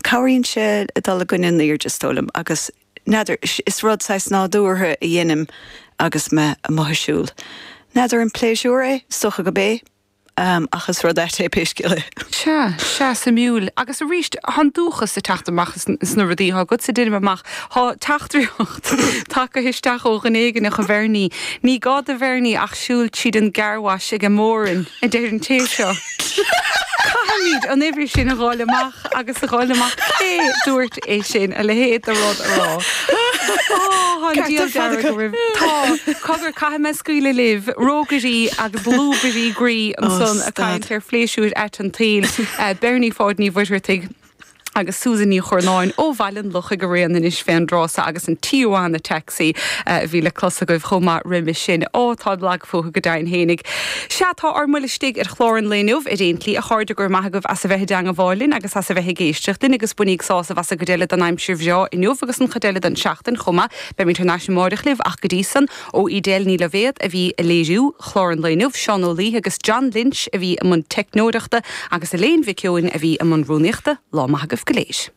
Cabhraíonn sé dul i gcoinne an aoirde, is dóigh liom, agus n'fheadar, is rud saghas nádúrtha a dheinim agus mé amuigh ag siúl. N'fheadar an pléisiúr é? Is dócha gurb é, ach is rud ait é pé scéal é. Sea, sea, suimiúil. Agus arís, tá an dúchas ag teacht amach sna rudaí atá agatsa, deinim amach. Tá teachtaireacht tagtha isteach ó dhuine éigin, a Bhernie. Ní gá do Bhernie ach siúl tríd an gcarwash ag an Móran, a deir an té seo. Caithfimid an uimhir sin a dh'fháil amach agus a dh'fháil amach cé dúirt é sin, a leithéid de rud a rá. Ó, tá an diabhal dearg oraibh. Tá. Cogar, caithfidh mé scaoileadh libh, rógairí agus lúbairí groí ansan ag caint ar phléisiúir ait an tsaoil, Bernie Pháid Ní Mhuircheartaigh. agus Susan Ní Churnáin ó Bhaile an Lochaigh araon anois fén dtráth so agus an Tijuana Taxi a bhí le clos agaibh chomh maith roimis sin. Ó, táim lag fúthu go deimhin fhéinig. Sea, tá ár mbuille istigh ar chlár an lae inniu ar aon tslí, a chairde, go raibh maith agaibh as a bheith i dteangabháil linn agus as a bheith ag éisteacht linn agus bainíg sásamh as an gcuid eile den aimsir bhreá inniu agus an chuid eile den tseachtain chomh maith. Beimid thar n-ais amáireach libh ach go dtí san, Ó Edel Ní Loibhéad a bhí ag léiriú chlár an lae inniu, Seán Ó Laoithe agus John Lynch a bhí i mbun teicneoireachta agus Elaine Mhic Eoin a bhí i mbun rúnaíochta. Lá maith agaibh go léir.